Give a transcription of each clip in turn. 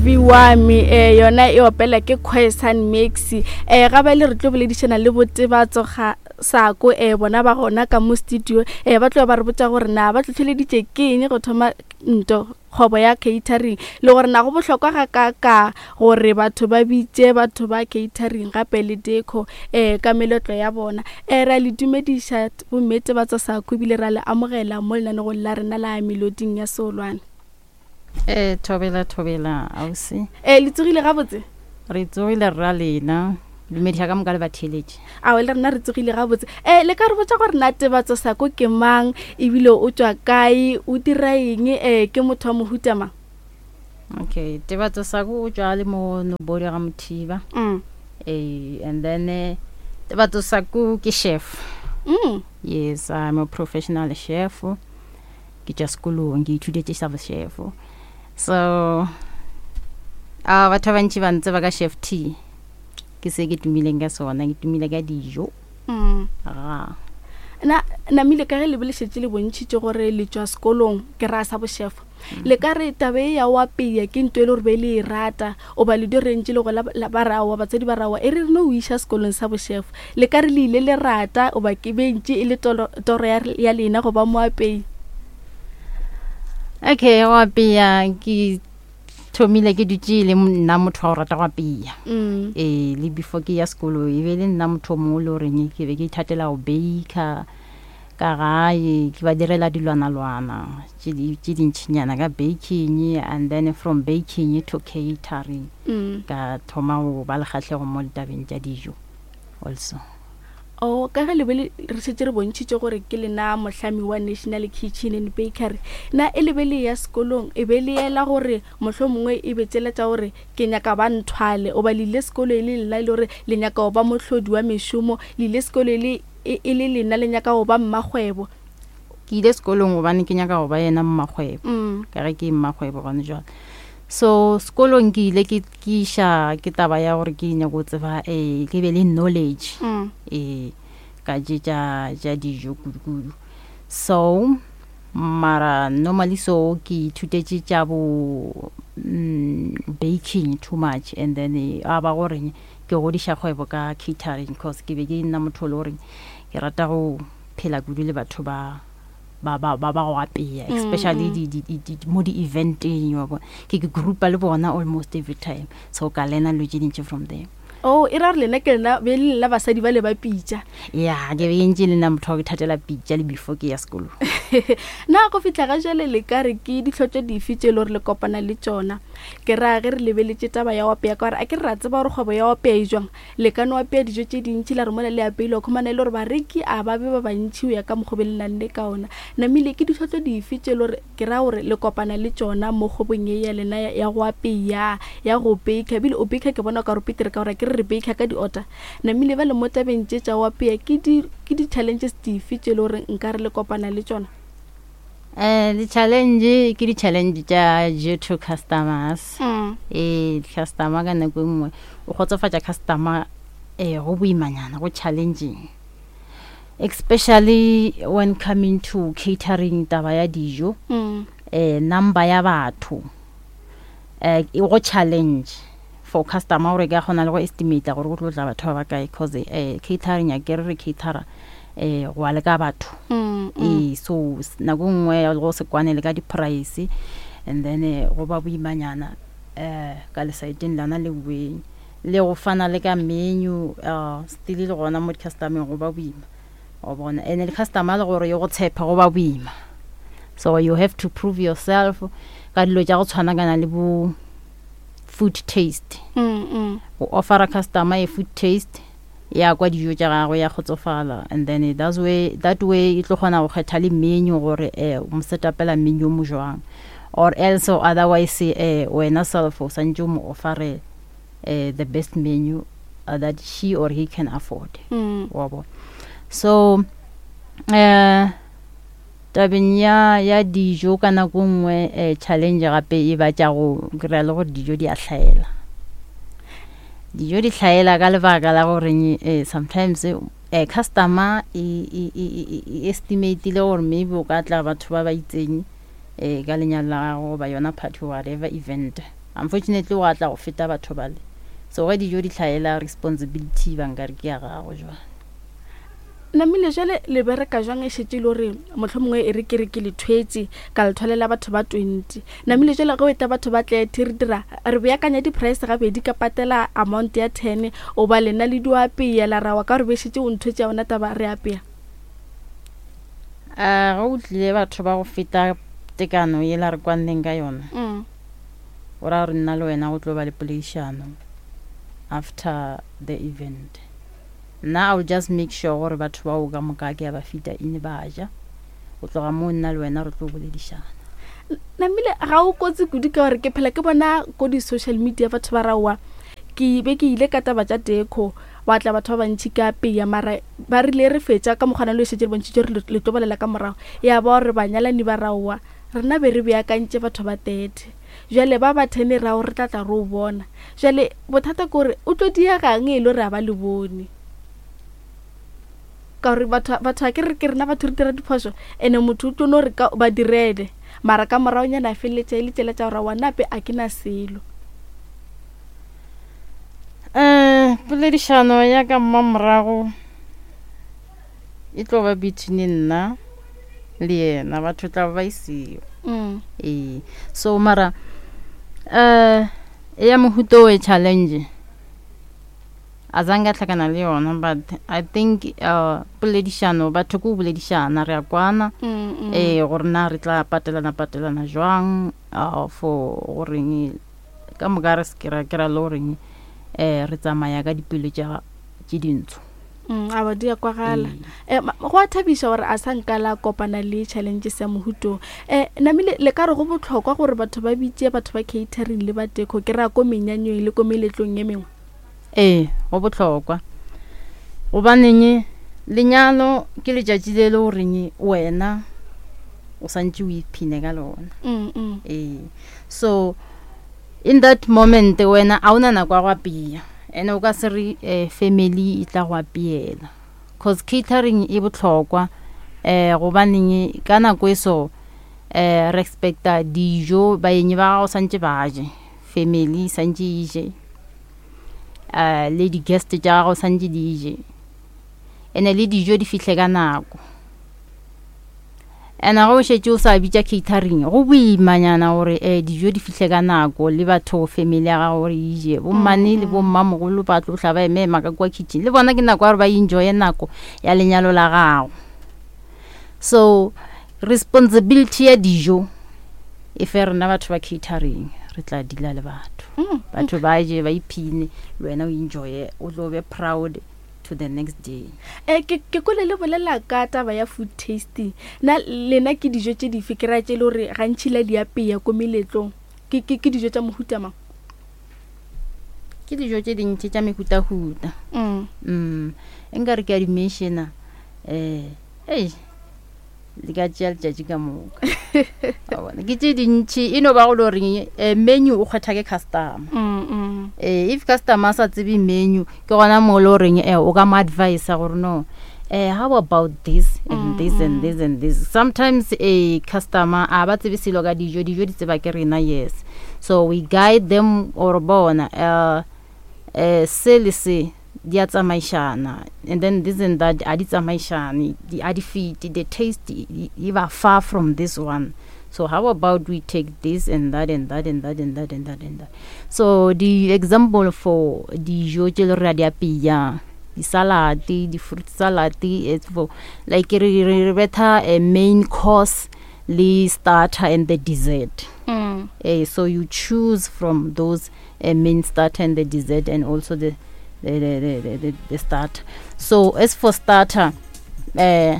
Movi wami eh yona e opela ke Khoisan Mix eh ga ba le re tlo boledišana le botebatso ga sako eh bona ba gona ka mo studio eh ba tlo ba re botša gore na ba tlhotlheleditše ke eng go thoma nto kgwebo ya catering le gore na go bohlokwa ga ka ka gore batho ba bitše batho ba catering gape le deco eh ka meletlo ya bona eh ra le dumediša bomme Tebatso Sako ebile ra le amogela mo lenanegong la rena la Meloding ya Seolwane. Eh, thobela thobela ausi. Eh, le tsogile gabotse? Re tsogile rra lena. Dumediša ka moka le batheeletši. Ao le rena re tsogile gabotse. Eh, le ka re botša gore na Tebatso Sako ke mang ebile o tšwa kae, o dira eng, eh, ke motho wa mohuta mang? Okay, Tebatso Sako o tšwa le mo Nobodi ga Mothiba. Eh, and then eh, Tebatso Sako ke chef. Yes, I'm a professional chef. Ke tšwa sekolong ke ithutetše sa bochef. So a batho ba bantši ba ntseba ka chef T. Ke se ke tumileng ka sona, ke tumile ka dijo. Ga. Na namile ka ge le be le šetše le bontšhitše gore le tšwa sekolong ke ra sa bochef. Le ka re taba e ya o apeya ke nto e le gore be le e rata oba le dio rentše le gola ba re aowa batswadi ba re aowa e re re no o iša sekolong sa bochef. Le ka re le ile le rata oba ke be ntše e le toro, toro ya, ya lena go ba moapei? Okay, go apeya ke thomile ke dutše le nna motho wa go rata go apeya. Ee, le before ke ya sekolo e be le nna motho o mongwe le goreng ke be ke ithatela go baker ka gae, ke ba direla dilwanalwana tše dintšhinyana ka baking, and then from baking to catering. Ka thoma go ba le kgahlego mo ditabeng tša dijo also. Oh, ka ge le be le re šetše re bontšhitše gore ke lena mohlami wa National Kitchen and Bakery, na e le be le ya sekolong e be le ela gore mohlomongwe e be tšela tša gore ke nyaka ba nthwale, goba le ile sekolo e le lena e le gore le nyaka go ba mohlodi wa mešomo, le ile sekolo e le e le lena le nyaka go ba mmakgwebo? Ke ile sekolong gobane ke nyaka go ba yena mmakgwebo, ka ge ke mmakgwebo gone jwale. So sekolong ke ile ke ke iša ke taba ya gore ke nyako tseba eh ke be le knowledge eh ka tše tša tša dijo kudu-kudu. So mara normally so ke ithutetše tša bo baking too much, and then a ba gore ke godiša kgwebo ka catering, cause ke be ke nna motho o le gore ke rata go phela kudu le batho ba ba ba ba ba go apeya, especially di di di di mo di eventeng wa bona, ke ke groupa le bona almost every time, so ka learna dilo tše dintši from them. Oh, e ra gore lena ke lena be le lena basadi ba le ba pitša. Ya, ke be ntše le nna motho wa go ithatela pitša le before ke ya sekolong. Na go fihla ga jwale le ka re ke ditlhotlo dife tše e le gore le kopana le tšona? Ke ra ge re lebeletše taba ya go apeya, ka gore a ke re ra tseba gore kgwebo ya go apeya e jwang. Le ka no apea dijo tše dintši la re mola le apeile wa khumana e le gore bareki a ba be ba bantši go ya ka mokgwa o be le nang le ka ona. Namile ke ditlhotlo dife tše e le gore ke ra gore le kopana le tšona mo kgwebong ye ya lena ya go apea, ya go baker? Ebile o baker ke bona o ka re o petere ka gore akere re baker ka di-order. Namile bjale mo tabeng tše tša go apea ke di ke di-challenges dife tše e le gore nkare le kopana le tšona? Di-challenge ke di-challenge tša due to customers. Ee, customer ka nako e nngwe o kgotsofatša customer um go boimanyana, go challenging, especially when coming to catering taba ya dijo. Number ya batho um go challenge for customer gore ka kgona le go estimate gore go tlo tla batho ba ba kae, cause um catering a kere re catera um go ya le ka batho. Ee, so nako e nngwe go se kwane le ka di-price, and then go ba boimanyana um ka lesaeteng lona le boeng le go fana le ka menu, still le gona mo di-customer-eng go ba boima, wa bona. And le customer le gore ye go tshepe go ba boima, so you have to prove yourself ka dilo tša go tshwanakana le bo food taste. Go offera customer a food taste, ya kwa dijo tša gagwe ya kgotsofala, and then that's way, that way e tlo kgona go kgetha le menu gore o mo setapela menu o mo jwang, or else or otherwise wena self o santse o mo offere the best menu that she or he can afford. Wa bona. So tabeng ya ya dijo ka nako nngwe challenge gape e ba tša go kry-a le gore dijo di a hlaela. Dijo di hlaela ka lebaka la goreng sometimes customer e estimatile gore maybe o ka tla batho ba ba itseng ka lenyalo la gago goba yona party, whatever event. Unfortunately gwa tla go feta batho bale. So ge dijo di hlaela responsibility ba nkare ke ya gago jwale. Namile jwale le bereka jwang e šetše e le gore mohlomongwe e re ke re ke le thwetše ka le thwalela batho ba 20. Namile jwale ge o etla batho ba 30 re dira re beakanya di-price gabedi ka patela amount ya 10 o ba lena le dio apea la rawa ka gore be šetše o nthwetše ya yona taba re apea. A ge o tlile batho ba go feta tekano yela re kwanneng ka yona. Mm. Go ra gore nna le wena go tlo ba le poledišano after the event. Nna I will just make sure gore batho bao ka moka ke a ba fita in ba ja. Go tloga moo nna le wena re tlo boledišana. Namile ga o kotsi kudu ka gore ke phela ke bona ko di-social media batho ba raowa ke be ke ile ka taba tša deco wa tla batho ba bantši ka peya mara ba rile re fetša ka mokgwana le šetše le bontšhitše re le tlo bolela ka morago ya ba gore banyalani ba raowa Rena be re beakantše batho ba 30. Bjale ba ba thene rago re tla tla re o bona. Bjale bothata ke gore o tlo diegang e le gore a ba le bone. Ka gore batho batho a ke re ke rena batho re dira diphošo ene motho o tlo no re ka ba direle mara ka moragonyana a feleletša e le tšela tša gore wa nape a ke na selo. Um poledišano ya ka mmamorago e tlo ba between nna le yena batho tla ba e seo mm. ee so mara um ya mohuto we challenge a zange a tlhakana le yona but i think uh, poledišano batho ke o boledišana re a kwana mm, mm. ee gore na re tla patelana patelana jwang uh, for goreng ka moka re se ra kera le goreng um re tsamaya ka dipelo tše dintsho Mm, a ba di a kwagala eh, go a thabiša gore a sa nka la kopana le challenges ya mohuto eh, namile le ka re go bohlokwa gore batho ba bitše batho ba catering le ba deco ke ra ko menyanyong le ko meletlong ye mengwe ee go bohlokwa gobaneng lenyalo ke letšatši le le goreng wena o santše o iphine ka lona mm, mm. ee so in that moment wena a o na nako ya go apea ene o ka se re um family e tla go apeela cause catering e bohlokwa um gobaneng ka nako e so um re expecta dijo baenyi ba gago santše ba je family santše e je um le di-guest tša gago santše di je ene le dijo di fihle ka nako And ge o šetše o sa bitša catering go boimanyana gore um dijo di fihle ka nako le batho family ya gago gore e je bommane le bommamogolo ba tlo tla ba eme-ema ka kua kitchen le bona ke nako ya gore ba enjoye nako ya lenyalo la gago so responsibility ya dijo e fe rena batho ba catering re tla dila le batho batho ba je ba iphine le wena o enjoye o tlo be proud to the next day. E, ke, ke kwele le bolela ka taba ya food tasting. Na lena ke dijo tše dife ke ra tše le gore gantši la di apeya ko meletlong? Ke, ke, ke dijo tša mohuta mang? Ke dijo tše dintši tša mehutahuta. Mm. Mm. E nka re ke a di mentiona. Eh, ei, le ka tšea letšatši ka moka ke tše dintšhi e no ba go le goreng eh, menu o kgwetha ke customer mm, mm. Eh, if customer a sa tsebe menu ke gona mo le goreng eh, o ka mo advisa gore no eh, how about this and mm, this and this and this sometimes a customer a ba tsebe selo ka dijo dijo di tseba ke rena yes so we guide them or bona uh, eh, se le se di a tsamaišana and then this and that a di tsamaišane a di fete the taste e ba far from this one so how about we take this and that and that and that and that and that and that so the example for dijo tše le re a di apeya di-salad di-fruit salad it's for like re re betha a main course le starter and the dessert mm. eh, so you choose from those a main starter and the dessert and also the the, the, the, the, the starter so as for starter eh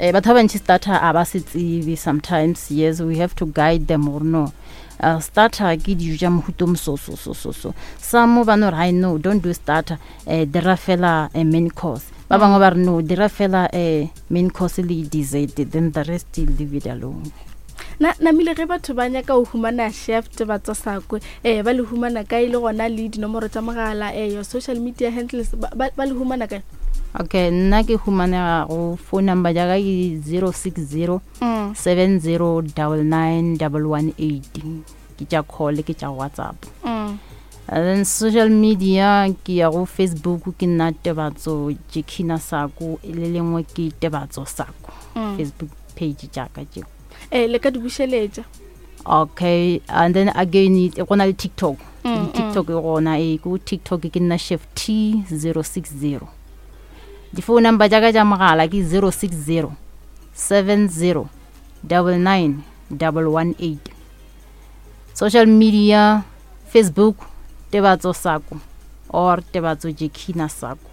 eh batho ba bantši starter a ba se tsebe sometimes yes we have to guide them or no uh, starter ke dijo tša mohuto moso so so so so some ba no re i no don't do starter eh dira fela a main course ba bangwe ba re no dira fela a main course le dessert then the rest leave it alone Na, namile ge batho ba nyaka go humana chef Tebatso Sakwe, eh, ba le humana kae le gona le dinomoro tša mogala, eh, your social media handles, ba, ba, ba le humana kae? Okay, nna ke humanega go phone number ja ka ke 060 mm. 70 99 118. Ke tša call, ke tša WhatsApp. And then social media ke ya go Facebook ke nna Tebatso Jekina Sako, le lengwe ke Tebatso Sako. Facebook page tša ka tšeo. Le ka di bušeletša. Okay, and then again go na le TikTok. TikTok e gona, e ko TikTok ke nna Chef T 060. Di-phone number tša ka tša mogala ke 060 70 99 118. Social media Facebook Tebatso Sako or Tebatso Jekina Sako.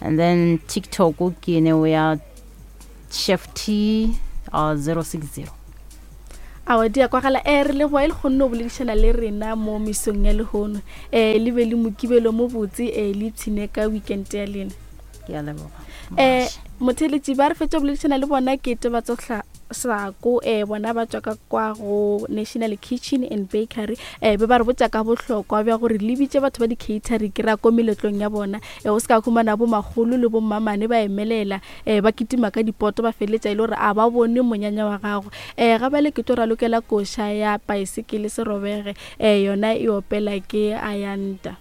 And then TikTok ke ne ya Chef T 060. Awa di a kwagala. Re leboa e le kgonne go boledišana le rena mo mesong ya lehono. Le be le mokibelo mo botse, le ipshine ka weekend ya lena. Ke a leboga. Motheletši ba re fetša go boledišana le bona ke Tebatso Sako, bona ba tšwa ka kwa go National Kitchen and Bakery. Be ba re botša ka bohlokwa bja gore le bitše batho ba di-catering ke ra ko meletlong ya bona. O se ka humana bo makgolo le bo mmamane ba emelela, ba kitima ka dipoto, ba feleletša e le gore a ba bone monyanya wa gago. Ga bjale ke tlo ralokela koša ya paesekele serobege, yona e opela ke Ayanda.